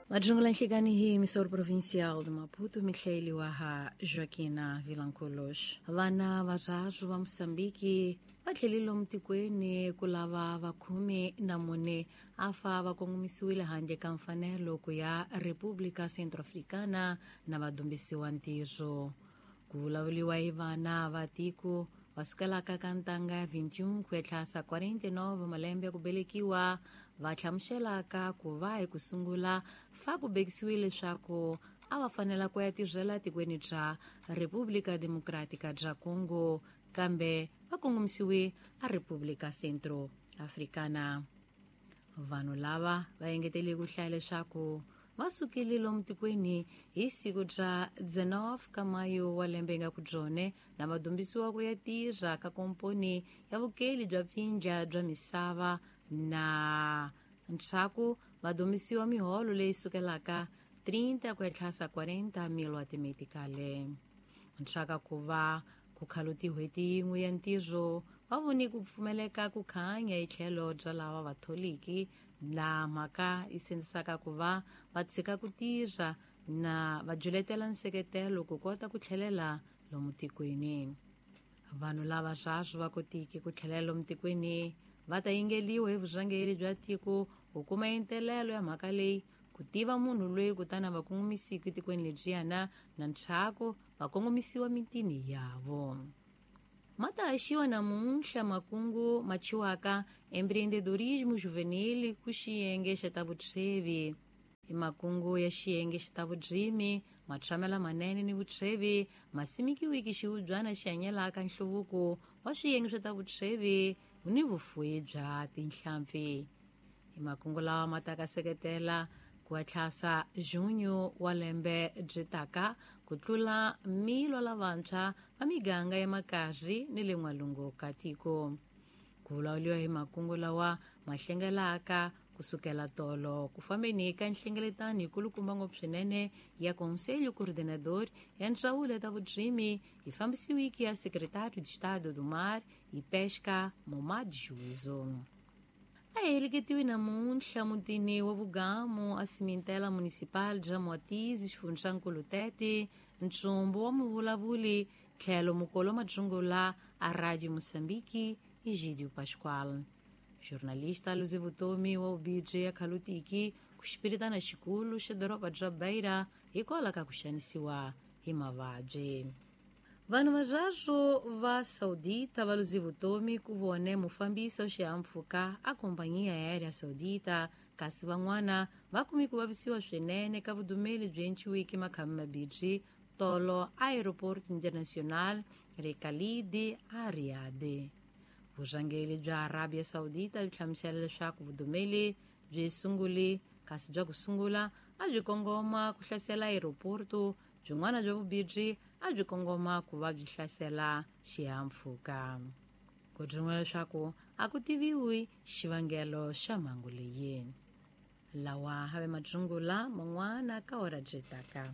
Majungula nhlikani hi emissora provincial de Maputo, mihlayeliwa ha Joaquina Vilanculos. Vana vazvazo va Moçambique va tlhelile mutikweni ku lava va 14 afa va kongomisiwile handle ka mfanelo ku ya República Centro-Africana na va dumbisiwa ntirho. Ku vulavuriwa hi vana va tiko va sukelaka ka ntanga ya 21 ku etlhasa 49 malembe ya ku velekiwa va hlamuselaka ku va hi ku sungula fa ku bekisiwile leswaku a va fanela ku ya tirhela tikweni bya República Democrática bya Congo, kambe va kongomisiwe a República Centro Africana. Vanhu lava va engetele ku hlaya leswaku va sukile lomu tikweni hi siku bya 19 ka mayo wa lembe nga ku byone na va dumbisiwa ku ya tirha ka komponi ya vukeli bya pfindla bya misava na ntshaku va dumbisiwa miholo leyi sukelaka 30 ku etlhasa 40 mil wa timetikale. Ntsaka ku va ku khalu tin'hweti yin'we ya ntirho va voni ku pfumeleka ku khanya hi tlhelo bya lava vatholiki laha mhaka yi sindzisaka ku va va tshika ku tirha na va juletela nseketelo ku kota ku tlhelela lomu tikweni. Vanhu lava swaswo va kotiki ku tlhelela lomu tikweni va ta yingeliwa hi vurhangeri bya tiko ku kuma entelelo ya mhaka leyi ku tiva munhu loyi kutani va kongomisiwi tikweni lebyiyana na ntshaku va kongomisiwa mitini yavo. Ma ta haxiwa namuntlha makungu ma chiwaka empreendedorismo juvenil ku xiyenge xa ta vutshwevi. I makungu ya xiyenge xa ta vudzimi, matshamela manene ni vutshwevi ma simikiwiki xiubyana xi hanyelaka nhluvuko wa swiyenge swa ta vutshwevi ni vufuwi bya tinhlampfi. I makungu lawa ma ta ka seketela ku etlhasa junho wa lembe byi taka ku tlula milo lavantshwa va miganga ya makazi ni le n'walungu ka tiko. Ku vulavuriwa hi makungu lawa ma hlengelaka kusukela tolo ku fambeni ka nhlengeletano yikulukumba ngopfu swinene ya Conselho Coordenador ya Ndzawulo ya ta Vudzimi yi fambisiwiki ya Secretário de Estado do Mar e Pesca Momad Juízo. A heleketiwe namuntlha mutini wa Vugamu a Cimentela Municipal bya Moatize xifundzankulu Tete ntsumbu wa muvulavuli tlhelo mukolo madzungula a Radio Moçambique Egídio Pascoal. Jornalista luze vutomi wa ubije ya khalutiki ku xipiritana xikulu xa doroba bya Beira hikwalaho ka ku xanisiwa hi mavabyi. Vanhu vazvazo va Saudita va luze vutomi ku vone mufambisi wa xihahampfhuka a kompaniya aérea Saudita, kasi van'wana va kumi ku vavisiwa swinene ka vudumeli byi enciwiki makhami mabirhi tolo Aeroporto Internacional Rekalidi a Riyadh. Vurhangeri bya Arabia Saudita byi hlamusela leswaku vudumeli byi sunguli kasi bya ku sungula a byi kongoma ku hlasela aeroporto, byin'wana bya vubirhi a byi kongoma ku va byi hlasela xihahampfhuka. Ku byin'wana leswaku a ku tiviwi xivangelo xa mhangu leyi. Lawa have madzungula man'wana ka hora byi taka.